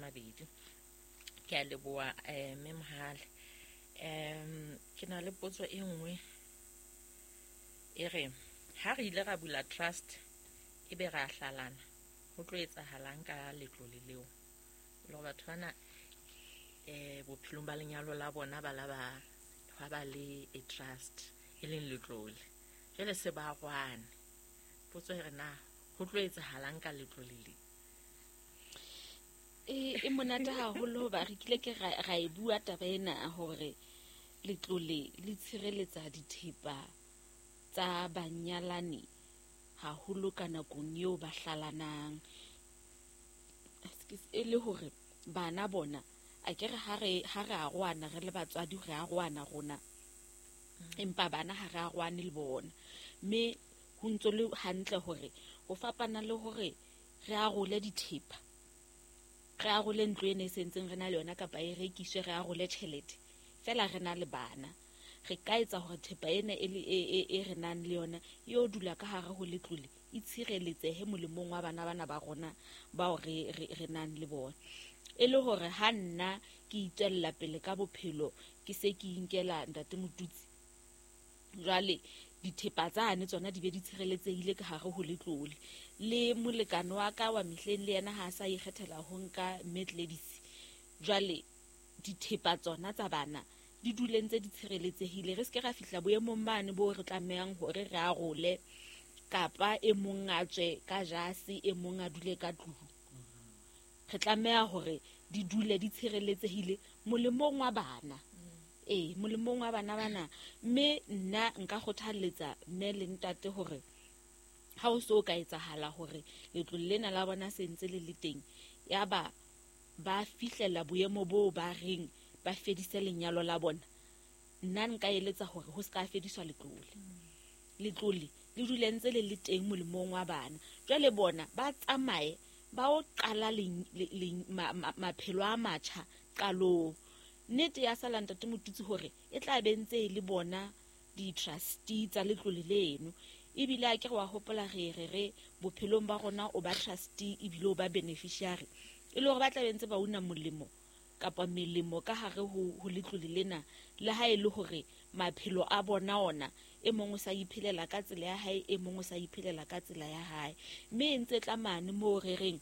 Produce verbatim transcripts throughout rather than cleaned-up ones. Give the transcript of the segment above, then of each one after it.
mabedi. Ke a leboha eh mme Mohale. Um ke na le potso e nngwe e re ha re ile ra bula trust ebe ra hlalana, ho tlo etsahalang ka letlole leo? Le hore batho bana eh bophelong ba lenyalo la bona ba la ba hwa ba le a trust e leng letlole, jwale se ba rwane. Potso e re na ho tlo etsahalang ka letlole le? E e monate haholo hoba re kile ke ra ra e bua taba ena hore letlole le tshireletsa dithepa tsa banyalani haholo ka nakong eo ba hlalanang. E le hore bana bona akere ha re ha re arohana re le batswadi, re arohana rona, empa bana ha re arohane le bona. Mme ho ntso le hantle hore ho fapana le hore re arole dithepa, re arole ntlo ena e sentseng re na le yona kapa e rekiswe, re arole tjhelete feela re na le bana, re ka etsa hore thepa ena e le e e e re nang le yona e yo dula ka hare ho letlole, e tshireletsehe molemong wa bana bana ba rona bao re re re nang le bona. E le hore ha nna ke itswella pele ka bophelo, ke se ke inkela ntate Motutsi, jwale dithepa tsane tsona di be di tshireletsehile ka hare ho letlole. Le molekane wa ka wa mehleng le yena ha a sa ikgethela ho nka mme Gladys, jwale dithepa tsona tsa bana di dule ntse di tshireletsehile. Re seke ra fihla boemong bane bo re tlamehang hore re arole, kapa e mong a tswe ka jase, e mong a dule ka tlung. Re tlameha hore di dule di tshireletsehile molemong wa bana. Ee, molemong wa bana bana. Mme nna nka kgothalletsa mme le ntate hore ha o so ka etsahala hore letlole lena la bona se ntse le le teng, yaba ba fihlela boemo boo ba reng ba fedise lenyalo la bona, nna nka eletsa hore ho se ka fediswa letlole. Letlole le dule ntse le le teng molemong wa bana. Jwale bona ba tsamaye ba o qala maphelo a matjha qalong. Nnete ya sala ntate Motutsi hore e tla be ntse e le bona di-trustee tsa letlole leno. Ebile a ke re wa hopola re re re bophelong ba rona o ba trustee ebile o ba beneficiary, e le hore ba tla be ntse ba una molemo kapa melemo ka hare ho ho letlole lena, le ha e le hore maphelo a bona ona e mong o sa iphelela ka tsela ya hae, e mong o sa iphelela ka tsela ya hae. Mme e ntse tla mane moo re reng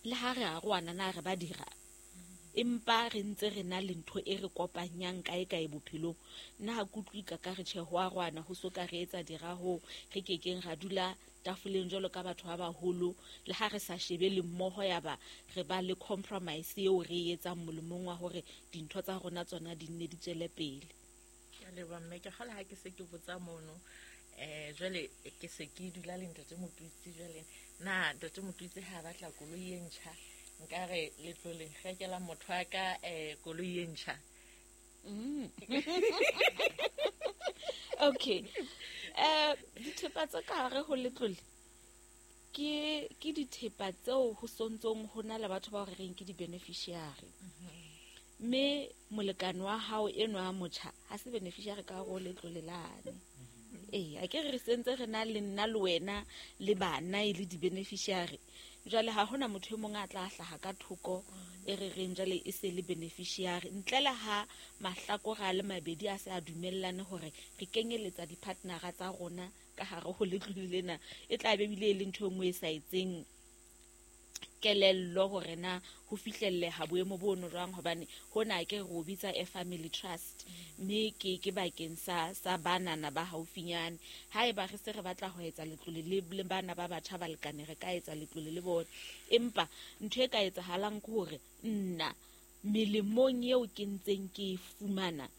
le ha re arohana na re ba dira, empa re ntse re na le ntho e re kopanyang kae kae bophelong. Nna ha ke utlwe ka ka re tjhe ho arohana ho so ka re etsa dira ho re kekeng ra dula tafoleng jwalo ka batho ba baholo, le ha re sa shebe le mmoho ya ba re ba le compromise eo re e etsang molemong wa hore dintho tsa rona tsona di nne di tswele pele. Ke a leboha mme, ke kgolwa ha ke se ke botsa mono eh jwale ke se ke dula le ntate Motutsi. Jwale na ntate Motutsi ha batla koloi e ntjha, nkare letloleng rekela motho wa ka eh koloi e ntjha? Mm. Okay. Eh dithepa tsa ka hare ho letlole ke ke dithepa tseo ho sontsong ho na le batho ba re reng ke di-beneficiary. Mme molekane wa hao enwa a motjha ha se beneficiary ka hare ho letlole lane. Ee, a ke re sentse re na le nna le wena le bana e le di-beneficiary. Jwale ha hona motho e mong a tla hlaha ka thoko e re reng jwale e se le beneficiary, ntle le ha mahlakore a le mabedi a se a dumellane hore re kenyeletsa di-partnera tsa rona ka hare ho letlole lena. E tla be ebile e le ntho e nngwe e sa etseng kelello hore na ho fihlelleha boemo bono jwang, hobane hona ke re o bitsa a family trust, mme ke ke bakeng sa sa banana ba haufinyane. Haeba re se re batla ho etsa letlole le le bana ba batjha ba lekane, re ka etsa letlole le bona. Empa ntho e ka etsahalang ke hore nna melemong eo ke ntseng ke e fumana,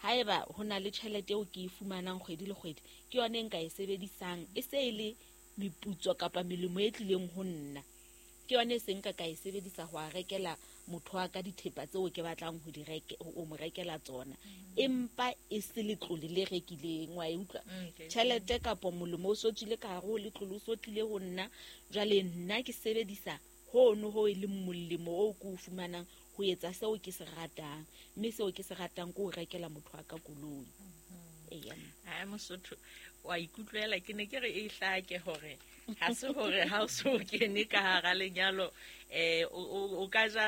haeba ho na le tjhelete eo ke e fumanang kgwedi le kgwedi, ke yona e nka e sebedisang e se e le meputso kapa melemo e tlileng ho nna, ke yona e seng ka ka e sebedisa ho a rekela motho wa ka dithepa tseo ke batlang ho di reke, ho mo rekela tsona. Empa e se letlole le rekileng, wa e utlwa? Tjhelete kapa molemo o so tswile ka hare ho letlole, o so tlile ho nna. Jwale nna ke sebedisa hono ho e leng molemo oo ke o fumanang ho etsa seo ke se ratang, mme seo ke se ratang ke ho rekela motho wa ka koloi. Eya. Ha Mosotho wa ikutlwela, ke ne ke re e hlake hore ha se hore ha o so kene ka hara lenyalo eh o ka ja